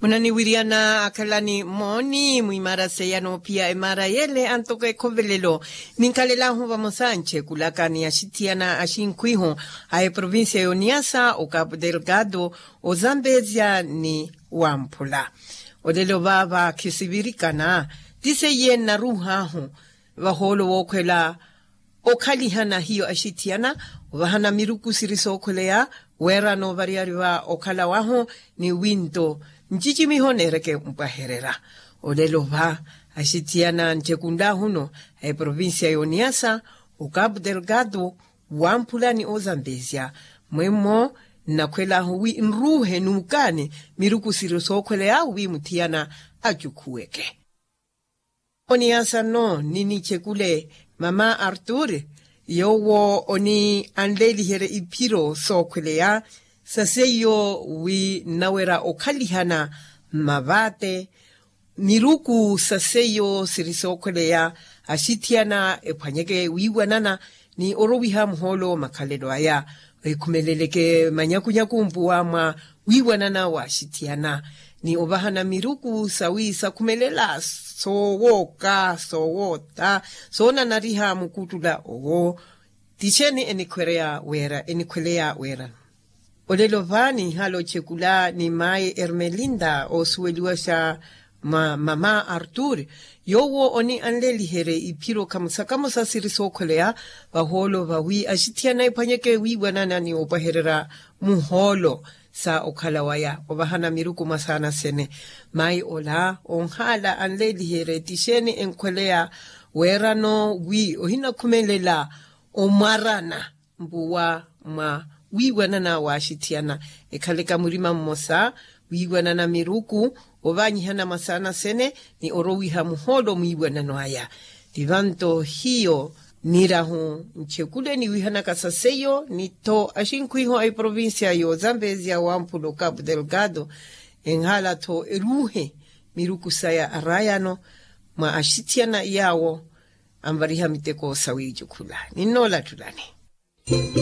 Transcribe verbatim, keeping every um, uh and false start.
Munaniwiriyana akhalani mooni mwimaara seya noophiya emaara yele antoko ekhovelelo. Ninkalelahu vamosa nchekulaka ni axithiyana axinkhwihu a eprovincia y'oniyasa o capu delgado, ozambezia ni wamphula. Olelo vaava khisivirikana ti seiye nnaruuhahu vahoolo wookhwela okhalihana hiyo axithiyana ovahana miruku siri sookhweleya weerano variyari va okhala wahu ni winto ncicimiho neereke mpwahererya. Olelo va axithiyana ncekunlaahuno a eprovincia y'oniyasa o capu delgado wamphula ni ozambezia mwemmo nnakhwelahu wi nruuhe nuukaani miruku siri sookhweleya wi muthiyana acukhuweke. Oniyasa nno ninichekule mama artur yoowo oni anleeliherye iphiro sookhweleya sa seiyo wi nnawerya okhalihana mmavaate miruku sa seiyo siri sookhweleya axithiyana ephwanyeke wiiwanana ni orowiha muhoolo makhalelo aya. Ekhumeleleke manyakunyaku mpuwa mwa wiiwanana wa axithiyana ni ovahana miruku sawi sakhumelela soowooka soowoota soonanariha mukuttula owo. Ti xeeni enikhwereya weera enikhweleya weerano? Olelo va ninhala ochekula ni mayi ermelinda oosuweliwaxa mwa mama artur yoowo oni anleeliherye iphiro kamosa kamosa siri sookhweleya vahoolo vawi axithiyana ephwanyeke wiiwanana ni opwahererya muhoolo sa okhala waya ovahana miruku mwa saana sene. Mayi ola onhala anleeliherye ti xeeni enkhweleya weerano wi ohinakhumelela omwarana mpuwa mwa wiiwanana wa axithiyana ekhaleka murima mmosa wiiwanana miruku ovaanyihana mwa saana sene ni orowiha muhoolo mwiiwanano aya. Ti vanto hiyo nirahu nchekule niwihanaka sa seiyo nitho axinkhwiho a eprovincia y'ozambezia wamphula o capu delgado enhala-tho eruuhe miruku saya araayano mwa axithiyana yaawo anvariha miteko sawiicukhula. Ninnoolattulani.